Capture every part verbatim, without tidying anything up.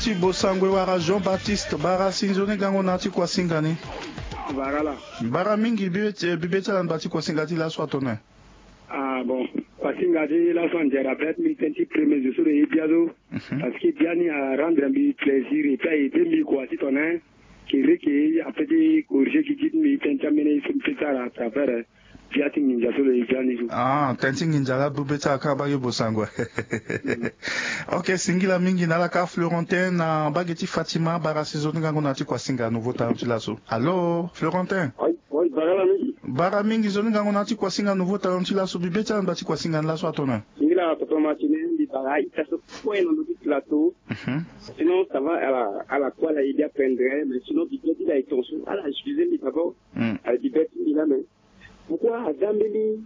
Ti Bosangwe wala Jean Baptiste, bara si nzoni gango na ti kuasinga ni. Bara la. Bara mingi, bibe ti, bibe ti ala na ba ti kuasinga ti laso atene. Ah bon, kuasinga ti laso ande rappel ti mbi tënë ti premier zo so lo ye bia so. Mhm. Parce que bia ni a rendre mbi plaisir et puis a aidé mbi kua ti tene. Kiri ke a peut ti corriger gigi ti mbi tënë ti ambeni so mbi peut ti sara à travers, eh, bia ti nginza so lo ye bia ni so. Ah, tënë ti nginza la bibe ti ala kâ bage Bosangwe. Ok, singila mingi na ala kâ Florentin na bage ti Fatima, bara si nzoni gango na ti kuasinga Nouveau Talent ti laso. Allô, Florentin? Oui, oui, bara la mingi. Bara mingi, nzoni gango na ti kuasinga Nouveau Talent ti laso, bibe ti ala na ba ti kuasinga ni laso atene. Singila papa Martine, mbi bara ita so kue na ndo ti plateau. Mhm. Sinon, ça va, ala, ala kue ala ye bia pendre, mais sinon, bibe ti ala e tonso, ala juger mbi d'abord. Hmm. Ala bibe ti mbi la, mais pourquoi aza mbeni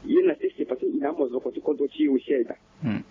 ye na sese, parce que il a mozoko ti kodro ti e aussi aye daa. Hmm.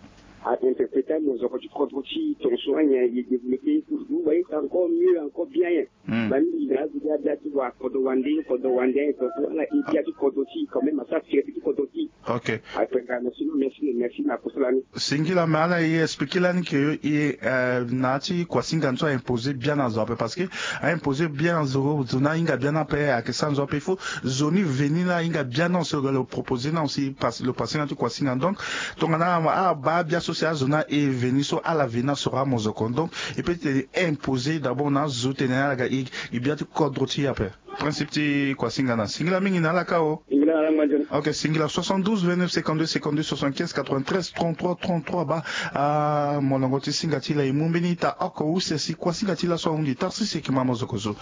A interpréter mozoko ti kodro ti e tonso, ayen aye développer, vous voyez, c'est encore mieux, encore bien, hein. Hmm. Ba mbi na azo bia bia ti wa kodro wande, kodro wande, aye tonso, ala e bia ti kodro ti e quand même, asa fierté ti kodro ti e. Ok. Après, merci, merci, merci, na kusala ni. Singila, mais ala ye expliquer lani ke e, eh, na ti kuasinga ni so a imposer bien na zo ape, parce que a imposer bien na zo, zo ni ahinga bien ni ape, ayeke sara na zo ape. Il faut zo ni veni ni ahinga bien na aussi, lo proposer na aussi, pas-, lo passer na ti kuasinga. Donc tongana a, a baa bia so si azo ni aye veni so, ala veni asoro amozoko. Donc e peut ti tene imposer d'abord na azo tene ala ga e, e bia ti kodro ti e ape. Principe ti kuasinga na. Singila mingi na ala kâ o. Singila na ala ngbangeni. Ok, singila, soixante-douze vingt-neuf cinquante-deux cinquante-deux soixante-quinze quatre-vingt-treize trente-trois trente-trois. Baa, ah, molongo ti singa ti la e mu mbeni ita oko use si kuasinga ti laso ahunzi. Tarsi seki ma mozoko zo.